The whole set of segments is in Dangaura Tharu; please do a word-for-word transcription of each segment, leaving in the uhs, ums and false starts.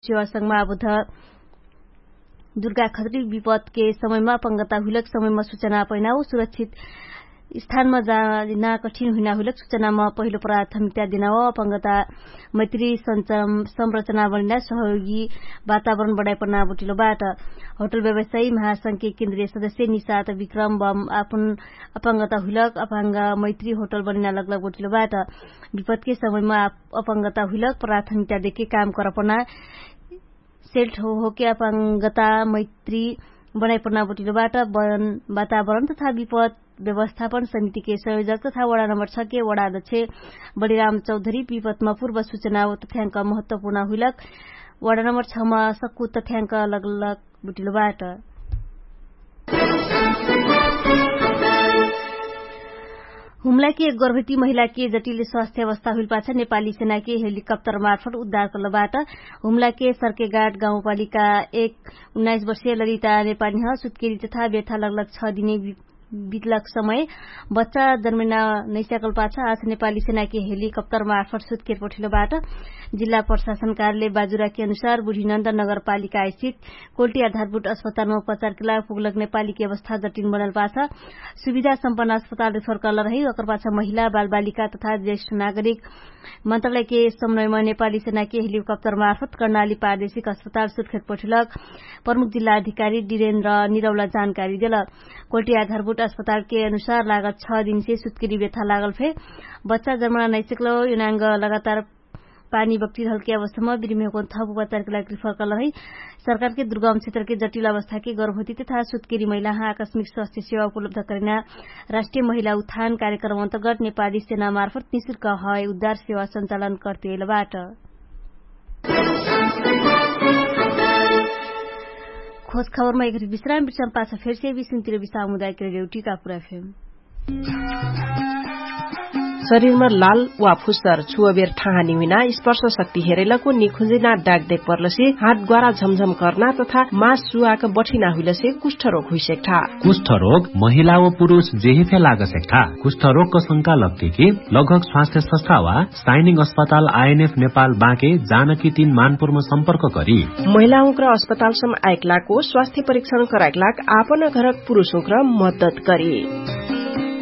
सेवा संगमा आबुध दुर्गा खतरी विपदके समयमा अपंगता हुइलक समयमा सुचना पैना उ सुरक्षित स्थानमा जाना कठिन हुइना हुइलक सुचनामा पहिलो प्राथमिकता देना हो। अपंगता मैत्री संरचना बनिना सहयोगी वातावरण बढाइ पर्ना बुटिलो बाट। होटल व्यवसायी महासंघके केन्द्रीय सदस्य निसात विक्रम बम आपन अपंगता हुइलक अपंग मैत्री होटल बनिना लगलग बुटिलो बाट। विपदके समयमा अपंगता हुइलक प्राथमिकता देके काम करपना सेल्ट होके अपंगता मैत्री बनाइपर्ना बुटिलो बाट। वातावरण तथा विपद व्यवस्थापन समितिके संयोजक तथा वडा नम्बर छके वडा अध्यक्ष बलिराम चौधरी विपदमा पूर्व सुचना तथ्यांक महत्वपूर्ण हुइलक वडा नम्बर छमा सक्कु तथ्यांक लगलग बुटिलो बाट। हुमलाके एक गर्भवती महिलाके जटिल स्वास्थ्य अवस्था हुइल पाछ नेपाली सेनाके हेलिकप्टर मार्फट उद्धार करल बाट। हुमलाके सर्केगाट गाउँपालिका एक उन्नाइस वर्षीय ललिता नेपाली ह सुत्केरी तथा व्यथा लगलग छ दिने बितलक समय बच्चा जन्मैना नैस्याकल पाछ आज नेपाली सेनाके हेलिकप्टर मार्फट सुत्केर पठिलो बाट। जिल्ला प्रशासन कार्यालय बाजुराके अनुसार बुढीनन्द नगरपालिका स्थित कोल्टी आधारभूत अस्पतालमा उपचारके लाग पुगलक नेपालीके अवस्था जटिन बनल पाछ सुविधा सम्पन्न अस्पताल रिफर करल रही। ओकर पाछ महिला बालबालिका तथा ज्येष्ठ नागरिक मन्त्रालयके समन्वयमा नेपाली सेनाके हेलिकप्टर मार्फत कर्णाली पारदेशिक अस्पताल सुटखेट पठिलक प्रमुख जिल्ला अधिकारी डिरेन्द्र निरौला जानकारी देलक। कोल्टी आधारभूत अस्पतालके अनुसार लागत छ दिनसे सुत्केरी व्यथा लागल फे बच्चा जर्मना नैसिकलो युनाङ्ग लगातार पानी बक्टिरहलके अवस्थामा बिरिमेहको थप उपचारके लागि रिफर करल है। सरकारके दुर्गम क्षेत्रके जटिल अवस्थाके गर्भवती तथा सुत्केरी महिलाहा आकस्मिक स्वास्थ्य सेवा उपलब्ध करिना राष्ट्रिय महिला उत्थान कार्यक्रम अन्तर्गत नेपाली सेना मार्फत निशुल्क है उद्धार सेवा सञ्चालन कर्तेल बाट। खोज खबरमा एक विश्राम विश्राम पाछ फेरसे विश्राम तिर विश्राम उदायक रेडियो टिका पुरा फेम। शरीरमा लाल वा फुस्सर छुवबेर ठाहानी हुइना स्पर्श शक्ति हेरैलको निखुजिना डाक देख पर्लसे हात ग्वारा झमझम कर्ना तथा मास सुवाक बठिना हुइलसे कुष्ठरोग हुइसेक्ठा। कुष्ठरोग महिला व पुरुष जेहिफे लागसेक्ठा। कुष्ठरोगको शंका लग्तिकी लगभग स्वास्थ्य सस्था वा साइनिङ अस्पताल आइएनएफ नेपाल बाँके जानकी तीन मानपुरमा सम्पर्क करी। महिलाहुँक्र अस्पतालसम आइकलाको स्वास्थ्य परीक्षण कराइकलाक आपन घरक पुरुषहुँक्र मद्दत करी।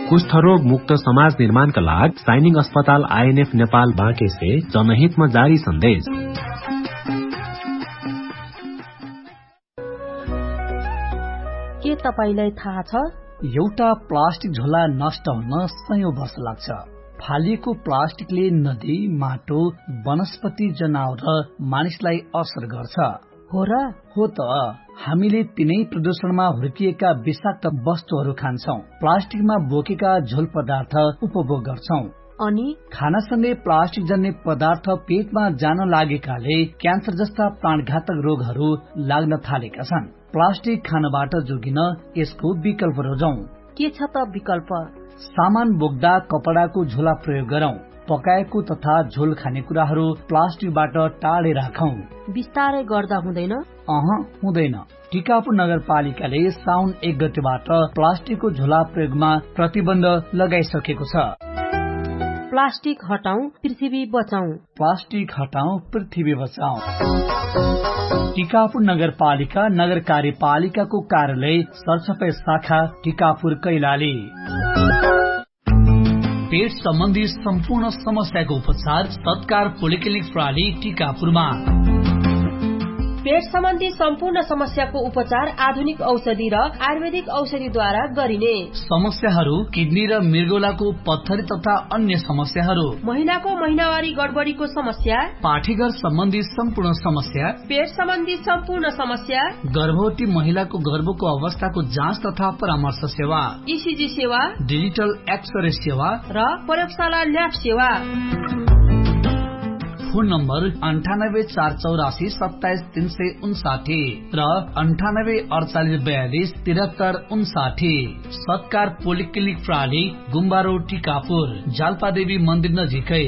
कुष्ठरोग मुक्त समाज निर्माणका लाग साइनिङ अस्पताल आइएनएफ नेपाल बाँकेसे जनहितमा जारी सन्देश। के तपाईंलाई थाहा छ? एउटा प्लास्टिक झोला नष्ट हुन सयौं वर्ष लाग्छ। फालिएको प्लास्टिकले नदी, माटो, वनस्पति, जनावर र मानिसलाई असर गर्छ। हो र? हो त। हामीले तिनै प्रदूषणमा हुर्किएका विषाक्त वस्तुहरू खान्छौं, प्लास्टिकमा बोकेका झोल पदार्थ उपभोग गर्छौं। अनि खानासँगै प्लास्टिक जन्ने पदार्थ पेटमा जान लागेकाले क्यान्सर जस्ता प्राणघातक रोगहरू लाग्न थालेका छन्। प्लास्टिक खानबाट जोगिन यसको विकल्प रोजौं। के छ त विकल्प? सामान बोक्दा कपडाको झोला प्रयोग गरौं। पकाएको तथा झोल खाने कुराहरू प्लास्टिकबाट टाढे राखौं। बिस्तारै गर्दा हुँदैन? अह, हुँदैन। टिकापुर नगरपालिकाले साउन एक गतेबाट प्लास्टिकको झोला प्रयोगमा प्रतिबन्ध लगाइसकेको छ। प्लास्टिक हटाउँ, पृथ्वी बचाउँ। प्लास्टिक हटाउँ, पृथ्वी बचाउँ। टिकापुर नगरपालिका नगर कार्यपालिकाको कार्यालय सरसफाई शाखा टिकापुर कैलाली। पेट सम्बन्धी सम्पूर्ण समस्याको उपचार सत्कार पोलिक्लिनिक प्रणाली टिकापुरमा। पेट सम्बन्धी सम्पूर्ण समस्याको उपचार आधुनिक औषधि र आयुर्वेदिक औषधिद्वारा गरिने। समस्याहरू किडनी र मृगौलाको पत्थरी तथा अन्य समस्याहरू, महिनाको महिनावारी गडबडीको समस्या, पाठीघर सम्बन्धी सम्पूर्ण समस्या, पेट सम्बन्धी सम्पूर्ण समस्या, गर्भवती महिलाको गर्भको अवस्थाको जाँच तथा परामर्श सेवा, इसिजी सेवा, डिजिटल एक्सरे सेवा र प्रयोगशाला ल्याब सेवा। फोन नम्बर अन्ठानब्बे चार चौरासी सत्ताइस तीन सय उन्साठी र अन्ठानब्बे अडचालिस बयालिस तिरहत्तर उन्साठी। सत्कार पोलिक्लिनिक प्रणाली, गुम्बारो टिकापुर, जालपादेवी मन्दिर नजिकै।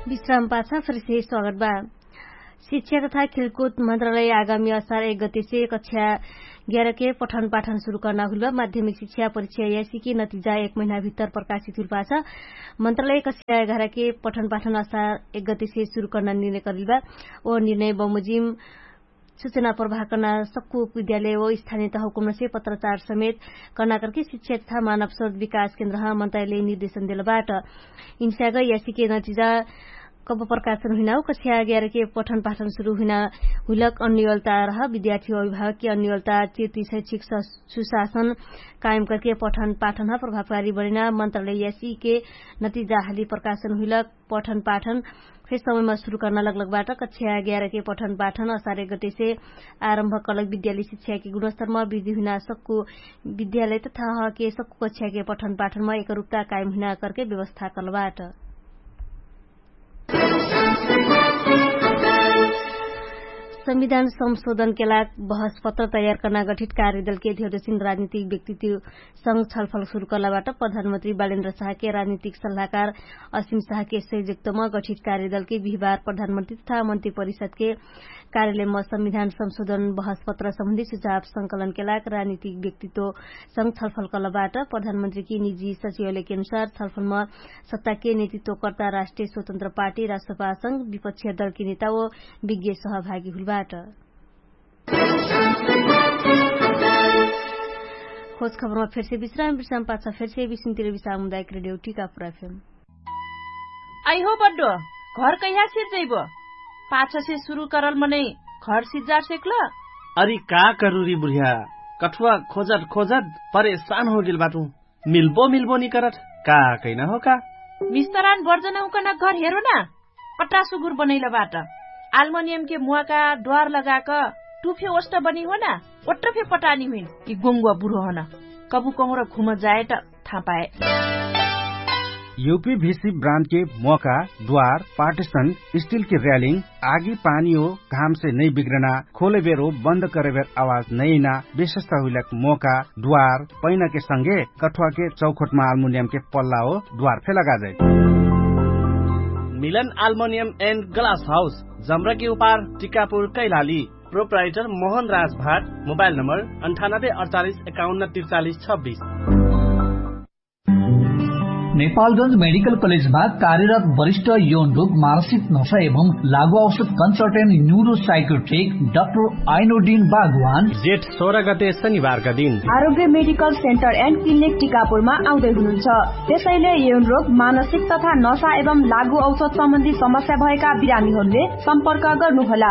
विश्राम पाछा फेरसे स्वागत बा। शिक्षा तथा खेलकुद मन्त्रालय आगामी असार एक गतिसे कक्षा ग्यारके पठन पाठन सुरु कर्ना हुइलबा माध्यमिक शिक्षा परिक्षा यासीके नतिजा एक महिना भित्तर प्रकाशित हुइलबा छ। मन्त्रालय कक्षा एघारके पठन पाठन असार एक गतिसे सुरु कर्ना निर्णय करिलबा। ओ निर्णय बमोजिम सुचना प्रभाकर्ना सक्कु विद्यालय ओ स्थानियत हुकुमनसे पत्रचार समेत कर्ना करके शिक्षा तथा मानव स्रोत विकास केन्द्रह मन्त्रालय निर्देशन देलबाट। इन्स्याग यासीके नतिजा कब प्रकाशन हुइना हो कक्षा ग्यारके पठन पाठन सुरु हुइना हुइलक अन्योलता रह विद्यार्थी अभिभावकके अन्योलता चिर्ति शैक्षिक सुशासन कायम करके पठन पाठनह प्रभावकारी बनिना मन्त्रालय यासीके नतिजा हाली प्रकाशन हुइलक। पठन पाठन फेर समयमा सुरु कर्ना लगलगबाट कक्षा ग्यारके पठन पाठन असार एक गतेसे आरम्भ कलक विद्यालय शिक्षाके गुणस्तरमा वृद्धि हुइना सक्कु विद्यालय तथा हके सक्कु कक्षाके पठन पाठनमा एकरुपता कायम हुइना करके व्यवस्था कलबाट। संविधान संशोधनके लाग बहस पत्र तयार कर्ना गठित कार्यदलके धेउदसिन राजनीतिक व्यक्तित्व संग छलफल सुरु कर्लाबाट प्रधानमन्त्री बालेन्द्र साहके राजनीतिक सल्लाहकार असिम साहके सहयोगतम गठित कार्यदलके बिहिबार प्रधानमन्त्री तथा मन्त्री परिषदके कार्यालयम संविधान संशोधन बहस पत्र सम्बन्धी सुझाव संकलनके लाग राजनीतिक व्यक्तित्व संग छलफल कर्लाबाट। प्रधानमन्त्रीकी निजी सचिवालयके अनुसार छलफलम सत्ताके नेतृत्वकर्ता राष्ट्रिय स्वतन्त्र पार्टी राष्ट्रपासंग विपक्षीय दलके नेता ओ विज्ञ सहभागी हुलबाट। खोज खबरमा फेरसे विश्राम विश्राम पाछ फेरसे विश्राम टिकापुर एफएम। आइहो बड्डो, घर कैहा सिर जैबो? पाछसे सुरु करल मनै घर सिज्जार सेक्ल। अरि का करुरी बुढिया, कठुवा खोजत खोजत परेशान होगेल बाटु। मिल्बो मिल्बो निकरत का कैना हो का? मिस्तरान बर्जन हुकन घर हेरो ना। पट्रा सुगुर बनैल बाट। आल्मोनियमके मुवाका द्वार लगाक टुफे ओष्ट बनी हो ना। ओट्र फे पटानी हुइन कि गोङ्गुवा बुढो हन। कबु कहुँर घुम जाएट थापाए। युपी भिसी ब्रान्डके मोका द्वार पार्टिसन स्टिलके र्यालिङ आगी पानी हो घामसे नै बिग्रना खोलेबेर हो बन्द करेबेर आवाज नैना विशेषता हुइलक मोका द्वार पैनाके संगे कठुवाके चौखोटमा आल्मुनियमके पल्ला हो द्वार फे लगाजै। मिलन आल्मुनियम एन्ड ग्लास हाउस जम्रकी उपार टिकापुर कैलाली। प्रोप्राइटर मोहन राज भाट। मोबाइल नम्बर अन्ठानब्बे अडचालिस एकाउन्न त्रिचालिस छब्बिस। नेपालगंज मेडिकल कलेजमा कार्यरत वरिष्ठ यौन रोग मानसिक नशा एवं लागु औषध कन्सल्टेन्ट न्युरोसाइकोट्रिक डाक्टर आइनोडिन बागवान जेठ सोह्र गते शनिबारका दिन आरोग्य मेडिकल सेन्टर एन्ड क्लिनिक टिकापुरमा आउँदै हुनुहुन्छ। त्यसैले यौन रोग मानसिक तथा नशा एवं लागु औषध सम्बन्धी समस्या भएका बिरामीहरूले सम्पर्क गर्नुहोला।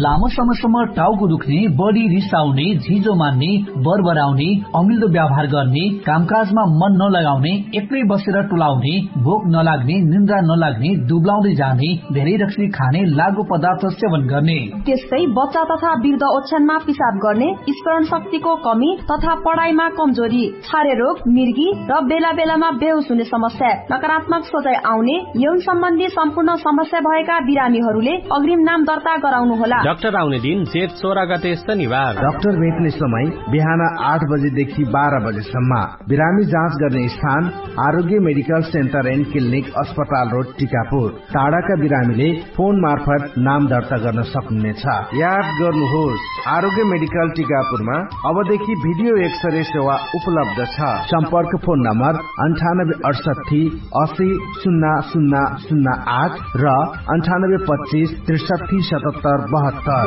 लामो समयसम्म टाउको दुख्ने, बढी रिसाउने, झिजो मान्ने, बरबराउने, अमिल्दो व्यवहार गर्ने, कामकाजमा मन नलगाउने, एक्लै बसेर टुलाउने, भोक नलाग्ने, निन्द्रा नलाग्ने, दुब्लाउँदै जाने, धेरै रक्सी खाने, लागु पदार्थ सेवन गर्ने। त्यस्तै बच्चा तथा वृद्ध ओछ्यानमा पिसाब गर्ने, स्मरण शक्तिको कमी तथा पढाइमा कमजोरी, छारे रोग, मिर्गी र बेला बेलामा बेहोस हुने समस्या, नकारात्मक सोचाइ आउने, यौन सम्बन्धी सम्पूर्ण समस्या भएका बिरामीहरूले अग्रिम नाम दर्ता गराउनु होला। डाक्टर आउने दिन जेठ सोह्र गते शनिबार। डाक्टर भेट्ने समय बिहान आठ बजेदेखि बाह्र बजेसम्म। बिरामी जाँच गर्ने स्थान आरोग्य मेडिकल सेन्टर एन्ड क्लिनिक अस्पताल रोड टिकापुर। टाढाका बिरामीले फोन मार्फत नाम दर्ता गर्न सक्नुहुनेछ। याद गर्नुहोस, आरोग्य मेडिकल टिकापुरमा अबदेखि भिडियो एक्सरे सेवा उपलब्ध छ। सम्पर्क फोन नम्बर अन्ठानब्बे अठसट्ठी असी सुन्ना सुन्ना सुन्ना आठ र अन्ठानब्बे पच्चिस त्रिसट्ठी सतहत्तर बहत्तर।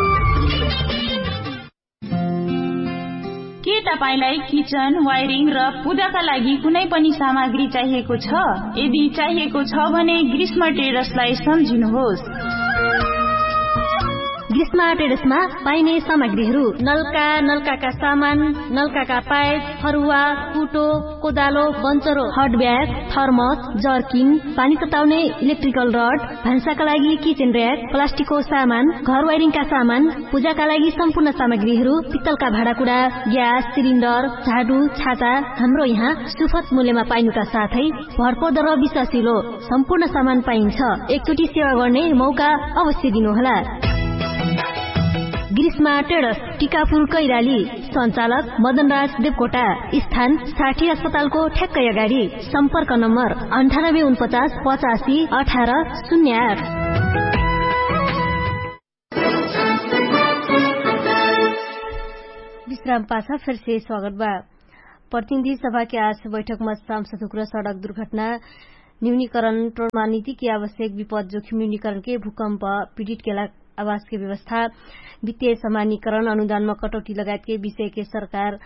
के तपाईंलाई किचन, वायरिङ र पूजाका लागि कुनै पनि सामग्री चाहिएको छ? यदि चाहिएको छ भने ग्रीष्म ट्रेडर्सलाई सम्झिनुहोस्। ग्रीष्म ट्रेडर्समा पाइने सामग्रीहरू नलका, नलकाका सामान, नलकाका पाइप, फरुवा, कुटो, कोदालो, बन्चरो, हटब्याग, थर्मस, जर्किन, पानी तताउने इलेक्ट्रिकल रड, भान्साका लागि किचेन र्याक, प्लास्टिकको सामान, घर वाइरिङका सामान, पूजाका लागि सम्पूर्ण सामग्रीहरू, पित्तलका भाँडाकुडा, ग्यास सिलिन्डर, झाडु, छाता, हाम्रो यहाँ सुफत मूल्यमा पाइनुका साथै भरपर्दो र विश्वासिलो सम्पूर्ण सामान पाइन्छ। एकचोटि सेवा गर्ने मौका अवश्य दिनुहोला। ग्रीष्मा ट्रेडर्स, टिकापुर कैराली। सञ्चालक मदनराज देवकोटा। स्थान साठी अस्पतालको ठ्याक्कै अगाडि। सम्पर्क नम्बर अन्ठानब्बे उनपचास पचासी अठार शून्य आठ। रामपाछा फेरसे स्वागत बा। प्रतिनिधि सभाके आज बैठकमा सांसद हुक्र सडक दुर्घटना न्यूनीकरण ट्रोमा नीतिके आवश्यक विपद जोखिम न्यूनीकरणके भूकम्प पीडितके लाग आवासके व्यवस्था वित्तीय समानीकरण अनुदानमा कटौटी लगायतके विषयके सरकार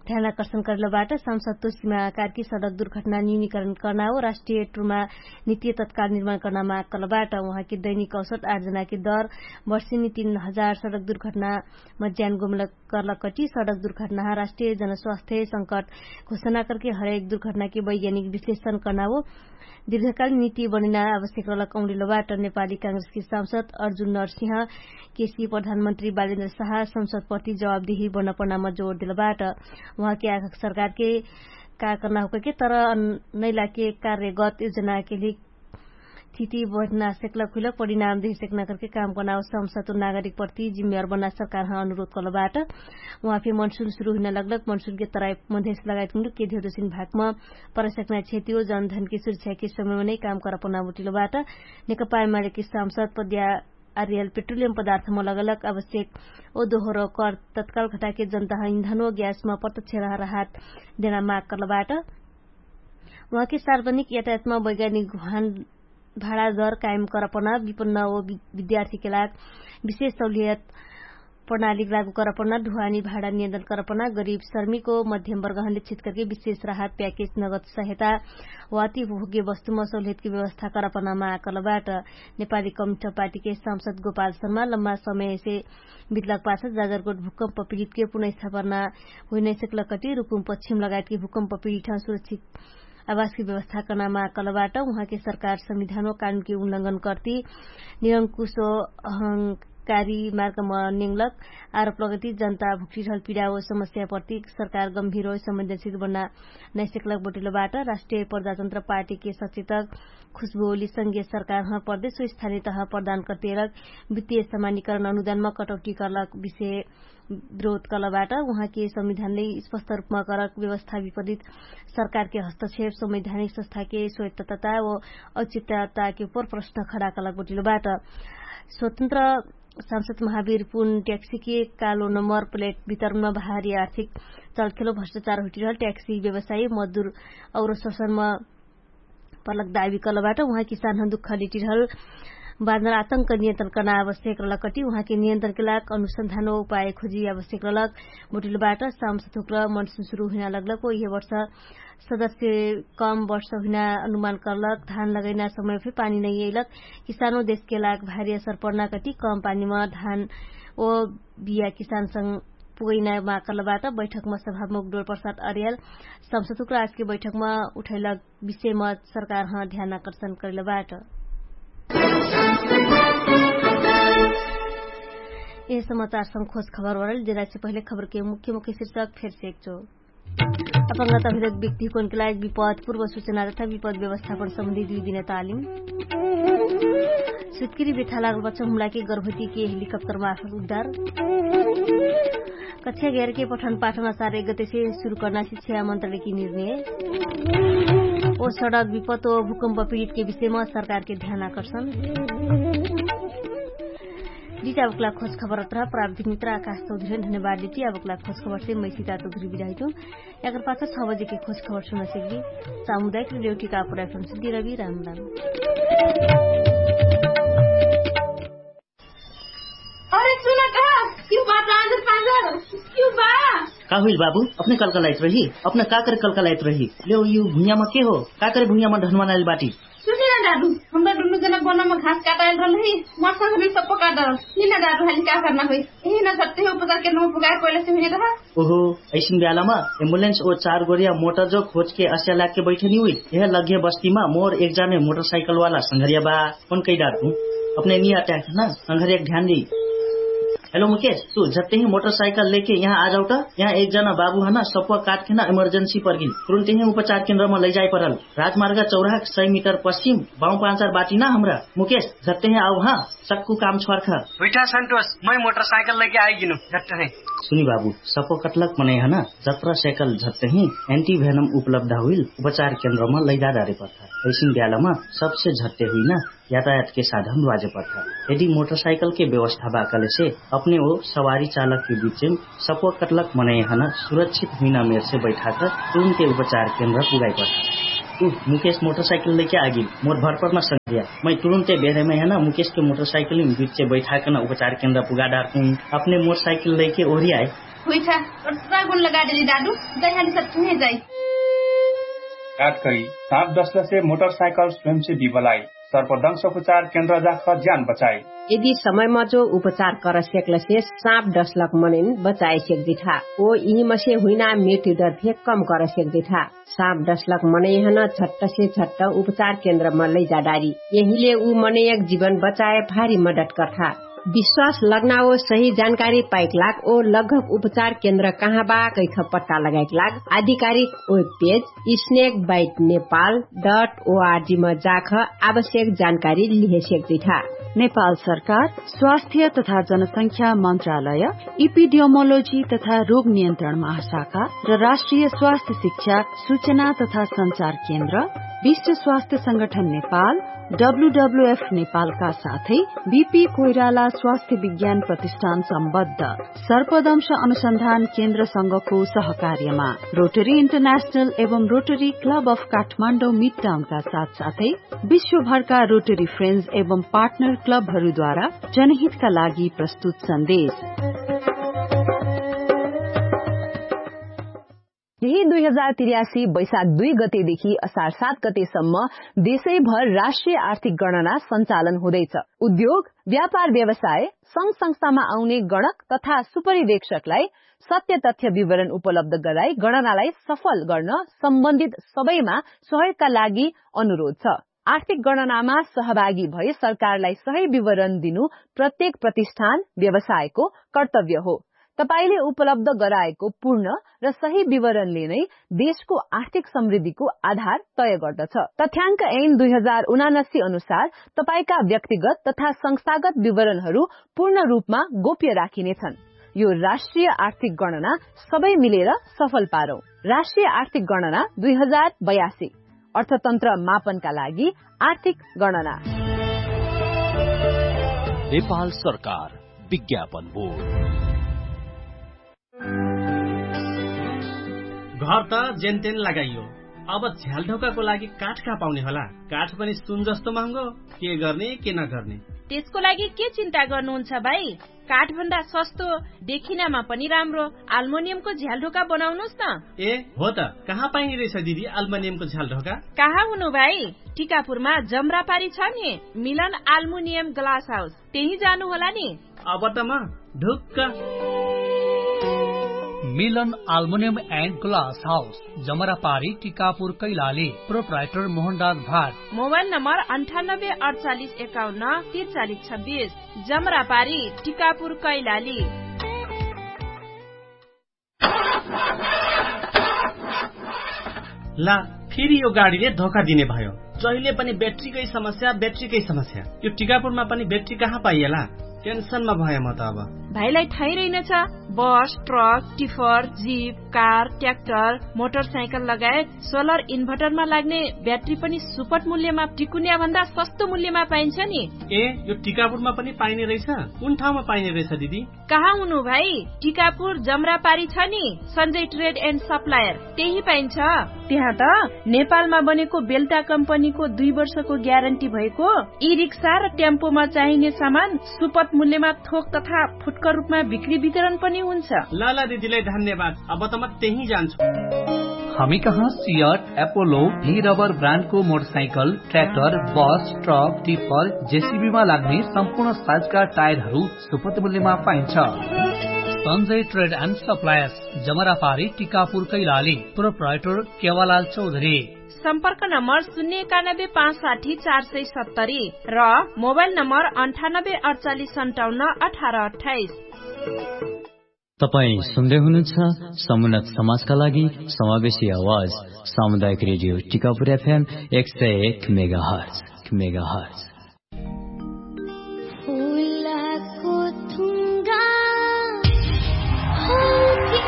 ध्यानाकर्षण करलबाट। सांसद तोसिमा कार्की सडक दुर्घटना न्यूनीकरण कर्ना हो राष्ट्रिय ट्रोमा नीतिय तत्काल निर्माण कर्ना माग करलबाट। उहाँके दैनिक औसत आठ जनाके दर वर्षिनी तीन हजार सडक दुर्घटना मज्यान गोमलक कर्लकटी सडक दुर्घटनाहा राष्ट्रिय जनस्वास्थ्य संकट घोषणा करके हरेक दुर्घटनाके वैज्ञानिक विश्लेषण कर्ना हो दीर्घकाल नीति बनिना आवश्यक रहलक औँडिलो बाट। नेपाली कांग्रेसके सांसद अर्जुन नरसिंह केसी प्रधानमन्त्री बालेन्द्र साहा संसदप्रति जवाबदेही बन्न पर्नामा जोर दिलो बाट। उहाँके आखक सरकारके का कर्ना होकैके तर नैलाके कार्यगत योजनाके लिक थिति बढ्ना सेक्लक हुइलक परिणाम देहे सेक्ना करके काम कर्ना हो संसद नागरिकप्रति जिम्मेवार बन्ना सरकारह अनुरोध करलो बाट। उहाँ फे मनसुन सुरु हुइना लगलक मनसुनके तराई मधेस लगायत हुँडुके धेउदोसिन भागमा परसक्ना क्षेत्रीय जनधनके सुरक्षाके समयमा नै काम करपना बुटिलो बाट। नेकपा एमालेके सांसद पद्या आर्यल पेट्रोलियम पदार्थमा लगलक आवश्यक ओ दोहोरो कर तत्काल घटाके जनताह इन्धन ओ ग्यासमा प्रत्यक्ष रह राहत देना माग करलो बाट। उहाँके सार्वजनिक यातायातमा वैज्ञानिक घुहान भाडा दर कायम करपना विपन्न ओ विद्यार्थीके लाग विशेष सहुलियत प्रणाली लागू करपना ढुवानी भाडा नियन्त्रण करपना गरिब शर्मिको मध्यम वर्गहनले छित करके विशेष राहत प्याकेज नगद सहायता वाती भोग्य वस्तुमा सहुलियतके व्यवस्था करपनामा आकलबाट। नेपाली कम्युनिस्ट पार्टीके सांसद गोपाल शर्मा लम्बा समयसे बितलक पाछ जाजरकोट भूकम्प पीडितके पुनैस्थापना हुइनैसकलकटी रुकुम पश्चिम लगायतके भूकम्प पीडित सुरक्षित आवासके व्यवस्था कर्नामा कलबाट। उहाँके सरकार संविधान व कानुनके उल्लंघन कर्ति निरंकुश व अहंकारी मार्गमा नेङ्लक आरोप लगति जनता भुक्टिरहल पीडा व समस्या प्रति सरकार गम्भीर व संवेदनशील बन्ना नैसकलक बोटिलोबाट। राष्ट्रिय प्रजातन्त्र पार्टीके सचेतक खुशबोली संघीय सरकार हँ प्रदेश व स्थानिय तह प्रदान कर्तेलक वित्तीय समानीकरण अनुदानमा कटौटी कर्लक विषय विरोध कलबाट। उहाँके संविधानले स्पष्ट रुपमा करक व्यवस्था विपरित सरकारके हस्तक्षेप संवैधानिक संस्थाके स्वयत्तता व अचित्तताके उपर प्रश्न खडा कलक बोटिलोबाट। स्वतन्त्र सांसद महावीर पुन ट्याक्सीके कालो नम्बर प्लेट वितरणमा भारी आर्थिक चलखेलो भ्रष्टाचार हुटिरहल ट्याक्सी व्यवसायी मजदुर और शोषणमा पर्लक दावी कलबाट। उहाँ किसानहन दुख लिटिरहल बाँधर आतंक नियन्त्रण कर्ना आवश्यक रहलक कटी उहाँके नियन्त्रणके लाग अनुसन्धान व उपाय खोजी आवश्यक रहलक। बोटिलबाट सामसथुक्र मनसुन सुरु हुइना लगलक व यह वर्ष सदस्य कम वर्ष हुइना अनुमान कर्लक धान लगैना समय फे पानी नैयैलक। किसानो देशके लाग भारी असर पर्ना कटी कम पानीमा धान व बिया किसानसँग पुगैना माग कर्लबाट बैठकमा सभामुख डोर प्रसाद अर्याल सामसथुक्र आजके बैठकमा उठैलक विषयमा सरकार हँ ध्यान आकर्षण करले बाट। यह समाचार सम खोज खबर वरल जेना से पहिले खबर के मुख्य मुख्य शीर्षक फेर से एक चो। अपंगता भिरक व्यक्ति कोनके लायक विपद पूर्व सूचना तथा विपद व्यवस्थापन सम्बन्धी दुई दिने तालिम। सुत्किरी बेठा लागल बच्चा हुमलाके गर्भवतीके हेलिकप्टर मार्फत उद्धार। कक्षा ग्यारके पठन पाठन असार एक गतेसे सुरु कर्ना शिक्षा मन्त्रालयकी निर्णय। ओ सडक विपत ओ भूकम्प पीडितके विषयमा सरकारके ध्यान आकर्षण। दित आवकला खोज खबर अत्रा प्राविधिक मित्र आकाश चौधरी धन्यवाद दिति आवकला खोज खबरसे मैसिता चौधरी बिदाहितु। याकर पाछा छ बजेके खोज खबर सुनसक्बी। सामुदायिक रेडियो टिका पुराइफनसु दिरबी राम राम। अरे सुना कहा? क्यों बा पाँजर पाँजर? क्यों बा? का हुइल बाबु? अपने कलकलाइत रही? अपने का करे कलकलाइत रही? लेउ यु भुइयामा के हो? का करे भुइयामा ढनवानाइल बाटी? सुनी ना दादु, हमरा दुनु जना गोनामा घास काटाइल रहल ही। मर संग भी सप्पो काट रहल। नी ना दादु हाली का करना होई? यही ना सत्ते हो पता के नो पुगाए कोइले से हुने रहा। ओहो, ऐसिन ब्यालामा एम्बुलेन्स ओ चार गोरिया मोटर जो खोजके अस्या लागके बैठनी हुई। यह लग्घे बस्तीमा मोर एक जाने मोटरसाइकलवाला संघरिया बा। फोन कैडार तु अपने निया ट्याक ना संघरिया ध्यान दी। हेलो मुकेश, तु झट्टे ही मोटरसाइकल लेके यहाँ आ जाउ त। यहाँ एक जना बाबु हना सप्वा काटके ना इमर्जेन्सी पर्गिन। तुरुन्ते ही उपचार केन्द्रमा लैजाए परल। राजमार्ग चौराहा सय मिटर पश्चिम बाउ पाँचार बाटी ना हमरा। मुकेश, झट्टे ही आउ हाँ। सक्कु काम छ्वार्खा। हुइठा सन्तोष, मै मोटरसाइकल लैके आइगिनु। झट्ट है। सुनि बाबु, सपो कटलक मनै हना जत्रा साइकल झट्ट ही एन्टी भेनम उपलब्ध हुइल उपचार केन्द्रमा लैदा डारे पर्खा। ऐसिन ब्यालामा सबसे झट्टे हुइना यातायातके साधन वाजे पर्खा। यदि मोटरसाइकलके व्यवस्था बा कलेसे अपने ओ सवारी चालक के बिचे सपोकटलक मनैहन सुरक्षित हुइना मेरसे बैठाक तुरुन्ते उपचार केन्द्र पुगाइ पठा। उ मुकेश मोटरसाइकल लैके आगिल। मोर भरपर न सङ्ग्रिया मै तुरुन्ते बेरेमैहन मुकेश के मोटरसाइकल बिचे बैठाकन उपचार केन्द्र पुगाडार कुन। अपने मोटरसाइकल लैके ओरियाए। हुइछा। ओर्सा गुन लगाडेली दादु। जैहानी सत्तुहे जाइ। काटकरी साप दसलसे मोटरसाइकल स्वयंसे बिबलाई। सर्पदंश उपचार केन्द्र जाख ज्यान बचाइ। यदि समयमा जो उपचार कर सेक्लसे साप दसलक मनैन बचाए सेक्दिठा। ओ इहिमसे हुइना मेट्यु दर फे कम कर सेक्दिठा। साप दसलक मनैहन झट्टसे झट्ट उपचार केन्द्रमा लैजाडारी। यहिले उ मनैयक जिवन बचाए भारी मदत कर्ठा। विश्वास लग्ना ओ सही जानकारी पाइक लाग ओ लगभग उपचार केन्द्र कहाँ बा कैख पट्टा लगाइक लाग आधिकारिक web page snake bite Nepal dot ORG मा जाख आवश्यक जानकारी लिहे सेक्दिठा। नेपाल सरकार स्वास्थ्य तथा जनसंख्या मन्त्रालय, इपिडियोमोलोजी तथा रोग नियन्त्रण महाशाखा र राष्ट्रिय स्वास्थ्य शिक्षा सूचना तथा सञ्चार केन्द्र, विश्व स्वास्थ्य संगठन नेपाल, डब्ल्युडब्ल्युएफ नेपालका साथै बिपी कोइराला स्वास्थ्य विज्ञान प्रतिष्ठान सम्बद्ध सर्पदंश अनुसन्धान केन्द्रसँगको सहकार्यमा रोटरी इन्टरनेशनल एवं रोटरी क्लब अफ काठमाडौँ मिडटाउनका साथसाथै विश्वभरका रोटरी फ्रेन्ड्स एवं पार्टनर क्लबहरूद्वारा जनहितका लागि प्रस्तुत सन्देश। यही दुई हजार तिर्यासी वैशाख दुई गतेदेखि असार सात गतेसम्म देशैभर राष्ट्रिय आर्थिक गणना सञ्चालन हुँदैछ। उद्योग, व्यापार व्यवसाय, संघ संस्थामा आउने गणक तथा सुपरिवेक्षकलाई सत्य तथ्य विवरण उपलब्ध गराई गणनालाई सफल गर्न सम्बन्धित सबैमा सहयोगका लागि अनुरोध छ। आर्थिक गणनामा सहभागी भई सरकारलाई सही विवरण दिनु प्रत्येक प्रतिष्ठान व्यवसायको कर्तव्य हो। तपाईंले उपलब्ध गराएको पूर्ण र सही विवरणले नै देशको आर्थिक समृद्धिको आधार तय गर्दछ। तथ्याङ्क ऐन दुई हजार उनासी अनुसार तपाईंका व्यक्तिगत तथा संस्थागत विवरणहरू पूर्ण रूपमा गोप्य राखिनेछन्। यो राष्ट्रिय आर्थिक गणना सबै मिलेर सफल पारौं। राष्ट्रिय आर्थिक गणना दुई हजार बयासी, अर्थतन्त्र मापनका लागि आर्थिक गणना। नेपाल सरकार, विज्ञापन बोर्ड। घर त जेनतेन लगाइयो, अब झ्यालढोकाको लागि काठ कहाँ पाउने होला? काठ पनि सुन जस्तो महँगो। के गर्ने के नगर्ने? त्यसको लागि के चिन्ता गर्नुहुन्छ भाइ? काठभन्दा सस्तो, देखिनमा पनि राम्रो आल्मुनियमको झ्यालढोका बनाउनुस् न। ए हो त, कहाँ पाइने रहेछ दिदी आल्मुनियमको झ्यालढोका? कहाँ हुनु भाइ? टिकापुरमा जमरापारी छ नि, मिलन आल्मुनियम ग्लास हाउस, त्यही जानु होला नि। अब त म ढुक्क। मिलन आल्मुनियम एन्ड ग्लास हाउस, जमरापारी टिकापुर कैलाली। प्रोप्राइटर मोहनराज भाट। मोबाइल नम्बर अन्ठानब्बे अडचालिस एकाउन्न तिरचालिस छब्बिस। जमरापारी टिकापुर कैलाली। ला, फेरि यो गाडीले धोका दिने भयो। जहिले पनि ब्याट्रीकै समस्या, ब्याट्रीकै समस्या। यो टिकापुरमा पनि ब्याट्री कहाँ पाइएला? टेन्सनमा भए म त अब। भाइलाई थाहै रहेनछ, बस, truck, tipper, zip, car, tractor, motorcycle लगायत सोलर इन्भर्टरमा लाग्ने ब्याट्री पनि सुपट मूल्यमा टिकुन्याभन्दा सस्तो मूल्यमा पाइन्छ नि। ए, यो टिकापुरमा पनि पाइने रहेछ? कुन ठाउँमा पाइने रहेछ दिदी? कहाँ हुनु भाइ? टिकापुर जमरापारी छ नि, सञ्जय ट्रेड एन्ड सप्लायर, त्यही पाइन्छ। त्यहाँ त नेपालमा बनेको बेल्टा कम्पनीको दुई वर्षको ग्यारेन्टी भएको ई रिक्सा र टेम्पोमा चाहिने सामान सुपट मूल्यमा थोक तथा फुटकर रूपमा बिक्री वितरण पनि हुन्छ। ल ल दिदीलाई धन्यवाद, अब त म त्यही जान्छु। हामी कहाँ सियट, एपोलो, ही रबर ब्रान्डको मोटरसाइकल, ट्र्याक्टर, बस, ट्रक, टिपर, जेसिबीमा लाग्ने सम्पूर्ण साइजका टायरहरू सुपट मूल्यमा पाइन्छ। सञ्जय ट्रेड एन्ड सप्लायर्स, जमरापारी, टिकापुर कैलाली। प्रोप्राइटर केवालाल चौधरी। सम्पर्क नम्बर शून्य एकानब्बे पाँच साठी चार सय सत्तरी र मोबाइल नम्बर अन्ठानब्बे अडचालिस सन्ताउन्न अठार अट्ठाइस। तपाईं सुन्दै हुनुहुन्छ समुन्नत समाजका लागि समावेशी आवाज, सामुदायिक रेडियो टिकापुर एफएम एक सय एक मेगाहर्ज। मेगाहर्ज। फुलको थुङ्गा हो कि?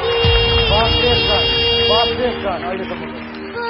बाप रे, बाप रे, अहिलेसम्म